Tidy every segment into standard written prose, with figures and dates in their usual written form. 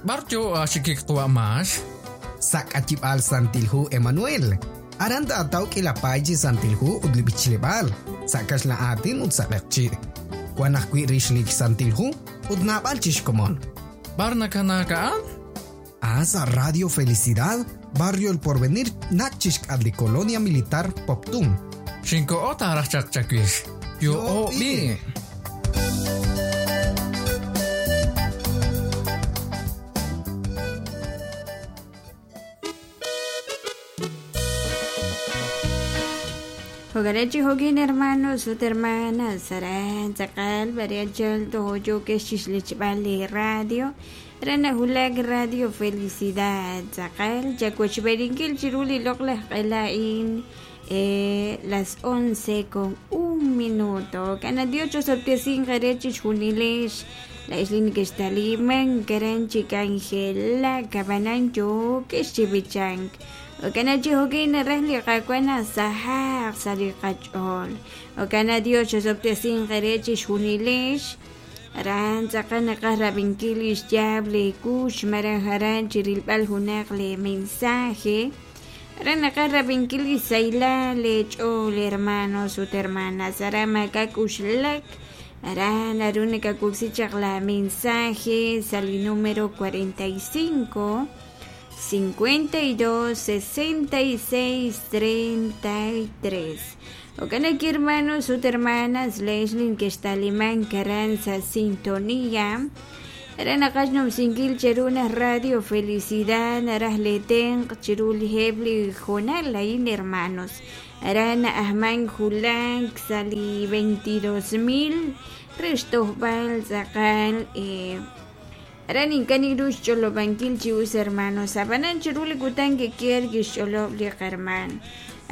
B'ar yo aaxikik qawa' Max? Sa' k'ayib'aal Santil Hu Emanuel. Aran taataw k'iila paay chi Santil Hu ut li b'ichleb'aal, sa' kaxlan aatin ut sa' q'eqchi'. Wan ajwi' rix li Santil Hu ut naab'al chi xkomon. B'ar nakanaak a'an? A sa' Radio Felicidad, Barrio El Porvenir, nach' chixk'atq li Colonia Militar Poptún. Xinkoho taaraj chaq chawix. Yo'o b'i'. Jo'kan chi jo'kin hermanos ut hermanas aran tz'aqal b'aryanchal toj yookex chixlechb'al li radio re nawulak Radio Felicidad tz'aqal chawochb'eeninkil chiru li loq'laj q'ela a'in las 11 con un minuto. Jo'kan Dios chosob'tesinq eere chixjunilex laa'ex li nekextalimank aran chi k'anjelak ab'anan yookex chi b'ichank. Jo'kan chi jo'kin naraj li Qaawa' naq sahaq sa' li qach'ool. Jo'kan Dios chosob'tesinq eere chixjunilex. Aran tz'aqal naqaj rab'inkil li xyaab' li kuux malaj aran chi rilb'al junaq li mensaje. Aran naqaj rab'inkil li sahilal leech'ool hermanos ut hermanas. Aran maak'a' k'uxlak. Aran naru nakawoksi chaq la mensaje sa' li número 45 52 66 33. Jo'kan naq hermanos ut hermanas leex li nekextalimank aran sa' sintonía. Aran naqaj xnumsinkil cheru naq Radio Felicidad naraj leetenq' chiru li heb' li hoonal a'in hermanos. Aran na'ajmank wulak sa' li 22,000 re xtojb'al tz'aqal Aran ink'a' ninru xch'olob'ankil chi us hermanos, ab'anan chiru li kutan kikier kixch'olob' li qahermaan.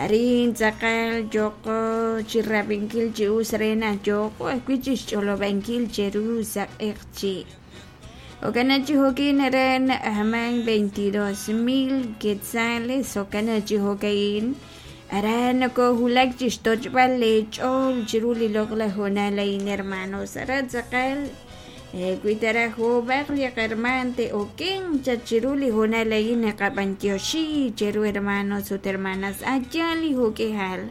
Arin tz'aqal yooqo chi rab'inkil chi us re naq yooqo ajwi' chi xch'olob'ankil cheru sa' q'eqchi'. Jo'kan naq chi jo'kin aran na'ajmank 22,000 quetzales, jo'kan naq chi jo'ka'in aran nokowulak chi xtoch'b'al leech'ool chiru li loq'laj hoonal a'in hermanos. Aran tz'aqal Wi taraj joob'aq li qahermaan te'okenq chaq chiru li hoonal a'in naqab'antioxi cheru hermanos ut hermanas a' yaal li jo'k'ihal.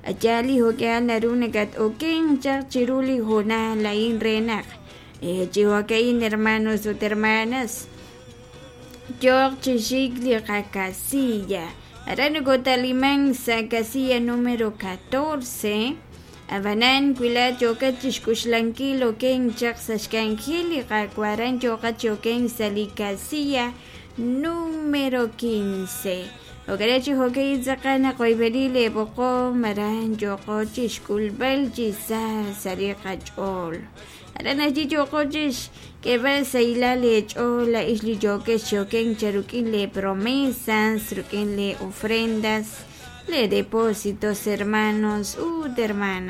A' yaal li jo'k'ihal naru nakat-okenq chaq chiru li hoonal a'in re naq chi jo'ka'in hermanos ut hermanas yooq chi xik li qakasilla. Aran nokotalimank sa' casilla número 14. Ab'anan, wi laa'at yookat chi xk'uxlankil okenk chaq sa' xk'anjel li Qaawa' aran yooqat chi okenk sa' li casilla número 15. Jo'kan chi jo'ka'in tz'aqal naqoyb'eni leeb'oqom aran yooqo chi xk'ulb'al chi sa sa' li qach'ool. Aran ajwi' yooqo chi xk'eeb'al sahilal leech'ool laa'ex li yookex chi okenk chaq rik'in lee promesas, rik'in lee ofrendas. Le depósitos hermanos ut hermanas.